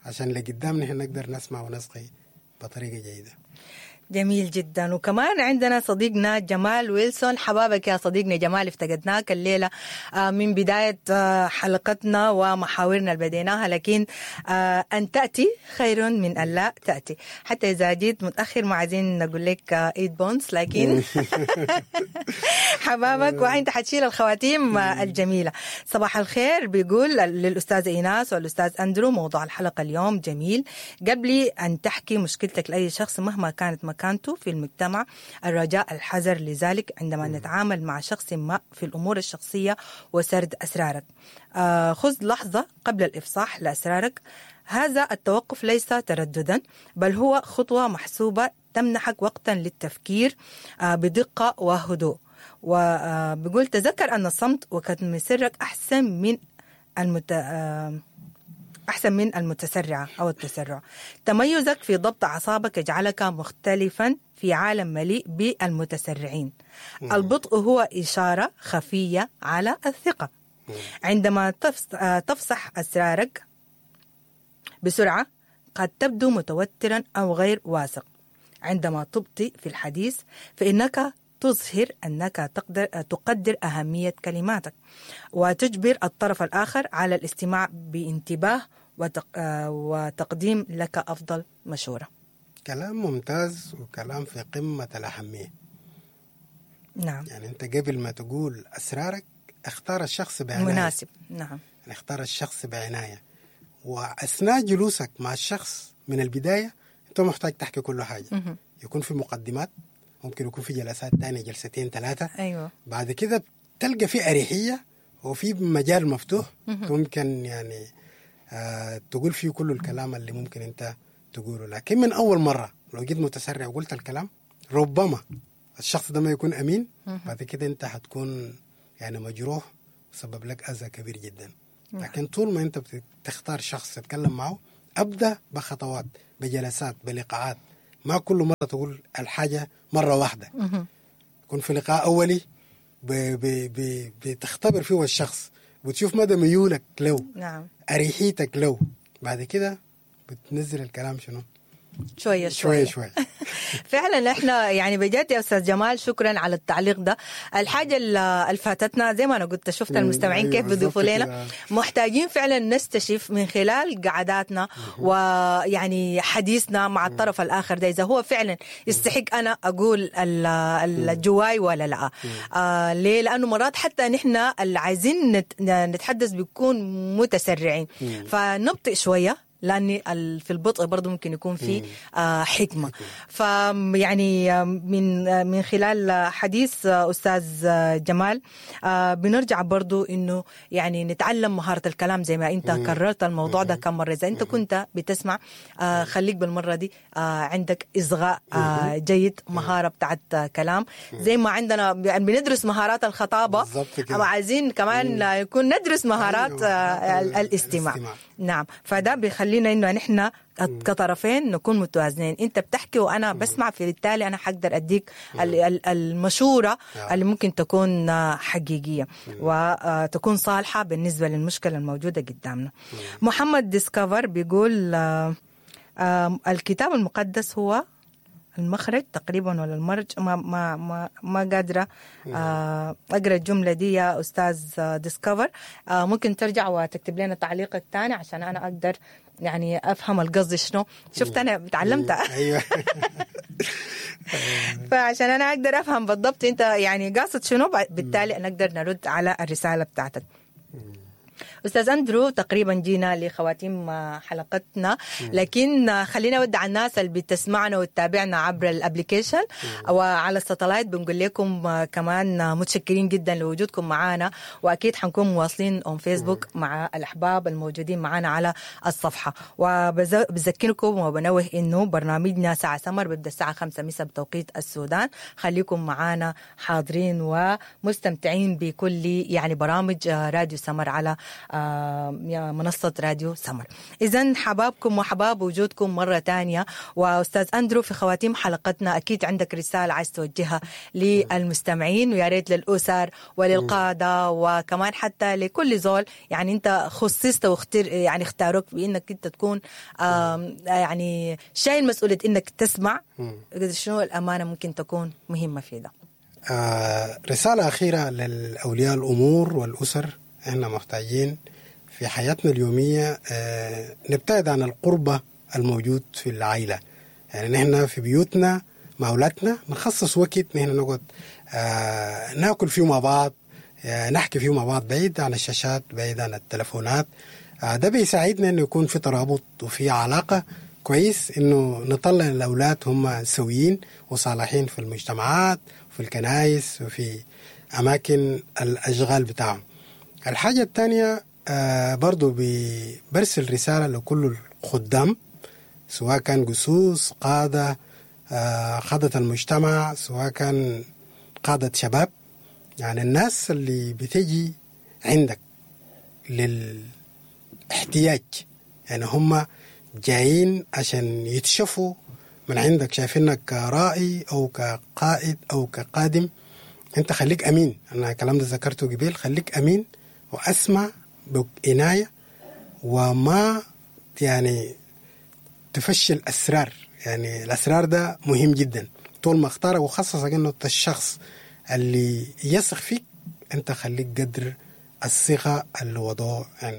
B: عشان لقدام نحن نقدر نسمع ونصغي بطريقة جيدة.
A: جميل جدا. وكمان عندنا صديقنا جمال ويلسون، حبابك يا صديقنا جمال، افتقدناك الليلة آه، من بداية آه، حلقتنا ومحاورنا اللي بديناها، لكن آه، أن تأتي خير من أن لا تأتي. حتى إذا جيت متأخر ما عايزين نقول لك آه، إيد بونس، لكن حبابك وانت حتشيل الخواتيم آه، الجميلة. صباح الخير بيقول للأستاذ إيناس والأستاذ أندرو، موضوع الحلقة اليوم جميل. قبل أن تحكي مشكلتك لأي شخص مهما كانت مكانته في المجتمع، الرجاء الحذر لذلك عندما نتعامل مع شخص ما في الأمور الشخصية وسرد أسرارك. آه، خذ لحظة قبل الإفصاح لأسرارك. هذا التوقف ليس ترددا، بل هو خطوة محسوبة تمنحك وقتا للتفكير آه، بدقة وهدوء. وبيقول تذكر أن الصمت وكتم سرك أحسن من المت... آه، أحسن من المتسرعة أو التسرع. تميزك في ضبط أعصابك يجعلك مختلفا في عالم مليء بالمتسرعين. البطء هو إشارة خفية على الثقة. عندما تفص- آه، تفصح أسرارك بسرعة قد تبدو متوترا أو غير واثق. عندما تبطئ في الحديث فإنك تظهر أنك تقدر تقدر أهمية كلماتك، وتجبر الطرف الآخر على الاستماع بانتباه وتق... وتقديم لك أفضل مشورة.
B: كلام ممتاز وكلام في قمة الأهمية.
A: نعم.
B: يعني أنت قبل ما تقول أسرارك اختار الشخص بعناية
A: مناسب. نعم.
B: يعني اختار الشخص بعناية، وأثناء جلوسك مع الشخص من البداية أنت محتاج تحكي كل حاجة.
A: مه.
B: يكون في مقدمات، ممكن يكون في جلسات تانية، جلستين ثلاثة.
A: أيوة.
B: بعد كده تلقى في أريحية وفي مجال مفتوح ممكن يعني آه تقول فيه كل الكلام اللي ممكن أنت تقوله. لكن من أول مرة لو جيت متسرع وقلت الكلام ربما الشخص ده ما يكون أمين. بعد كده أنت هتكون يعني مجروح وسبب لك أذى كبير جدا. لكن طول ما أنت بتختار شخص تتكلم معه أبدأ بخطوات، بجلسات، بلقاءات. ما كل مرة تقول الحاجة مرة واحدة. يكون في لقاء أولي ب ب ب بتختبر فيه الشخص، بتشوف مدى ميولك له.
A: نعم.
B: أريحيتك له. بعد كده بتنزل الكلام شنو؟
A: شوية شوية
B: شوية شوية.
A: فعلا احنا يعني بجد يا استاذ جمال شكرا على التعليق ده. الحاجة اللي فاتتنا زي ما انا قلت، شفت المستمعين كيف بيضيفوا لنا، محتاجين فعلا نستشف من خلال قعداتنا ويعني حديثنا مع الطرف الاخر ده اذا هو فعلا يستحق انا اقول الجواي ولا لا. آه ليه؟ لانه مرات حتى نحن اللي عايزين نتحدث بيكون متسرعين، فنبطئ شوية لأن في البطء برضو ممكن يكون في حكمة. فيعني من من خلال حديث أستاذ جمال بنرجع برضو إنه يعني نتعلم مهارة الكلام زي ما أنت كررت الموضوع ده كم مرة. إذا أنت كنت بتسمع خليك بالمرة دي عندك إصغاء جيد، مهارة بتاعت كلام زي ما عندنا بندرس مهارات الخطابة، عايزين كمان يكون ندرس مهارات الاستماع. نعم. فده بيخلينا انه نحن كطرفين نكون متوازنين، انت بتحكي وانا بسمع، فبالتالي انا حقدر اديك المشورة اللي ممكن تكون حقيقية وتكون صالحه بالنسبة للمشكلة الموجودة قدامنا. محمد ديسكفر بيقول الكتاب المقدس هو المخرج تقريبا ولا المرج، ما ما ما ما قادرة اقرا الجملة دي يا استاذ ديسكفر. ممكن ترجع وتكتب لنا تعليقك ثاني عشان انا اقدر يعني افهم القصد شنو. شفت انا تعلمت.
B: ايوه.
A: فعشان انا اقدر افهم بالضبط انت يعني قاصد شنو، بالتالي نقدر نرد على الرسالة بتاعتك. أستاذ أندرو تقريبا جينا لخواتيم حلقتنا، لكن خلينا نودع الناس اللي بتسمعنا وتتابعنا عبر ال application وعلى ال satellite. بنقول لكم كمان متشكرين جدا لوجودكم معنا، واكيد حنكون مواصلين on Facebook مع الاحباب الموجودين معنا على الصفحة. وبذكركم وبنوه انه برنامجنا ساعة سمر بيبدا الساعة خمسة مساء بتوقيت السودان. خليكم معنا حاضرين ومستمتعين بكل يعني برامج راديو سمر على منصة راديو سمر. إذن حبابكم وحباب وجودكم مرة تانية. وأستاذ أندرو في خواتيم حلقتنا أكيد عندك رسالة عايز توجهها للمستمعين، ويا ريت للأسر وللقادة وكمان حتى لكل زول يعني أنت خصصت واختر يعني اختاروك بأنك أنت تكون يعني شايل مسؤولية أنك تسمع. شنو الأمانة ممكن تكون مهمة في ده؟
B: آه رسالة أخيرة للأولياء الأمور والأسر. احنا محتاجين في حياتنا اليومية اه نبتعد عن القربة الموجود في العائلة. يعني نحن في بيوتنا مع أولادنا نخصص وقت نحن نقعد اه ناكل فيه مع بعض، اه نحكي فيه مع بعض، بعيد عن الشاشات، بعيد عن التلفونات. اه ده بيساعدنا انه يكون في ترابط وفي علاقة كويس، انه نطلع الأولاد هم سويين وصالحين في المجتمعات وفي الكنائس وفي أماكن الأشغال بتاعهم. الحاجة الثانية آه برضو برسل رسالة لكل الخدام، سواء كان جسوس، قادة، آه قادة المجتمع، سواء كان قادة شباب. يعني الناس اللي بتجي عندك للاحتياج، يعني هم جايين عشان يتشفوا من عندك، شايفينك كرائي أو كقائد أو كقادم. أنت خليك أمين. أنا الكلام ده ذكرته قبل، خليك أمين وأسمع بعناية، وما يعني تفشل أسرار. يعني الاسرار ده مهم جدا. طول ما اختارك وخصصك انه انت الشخص اللي يثق فيك، انت خليك قدر الثقة اللي وضعه عندك.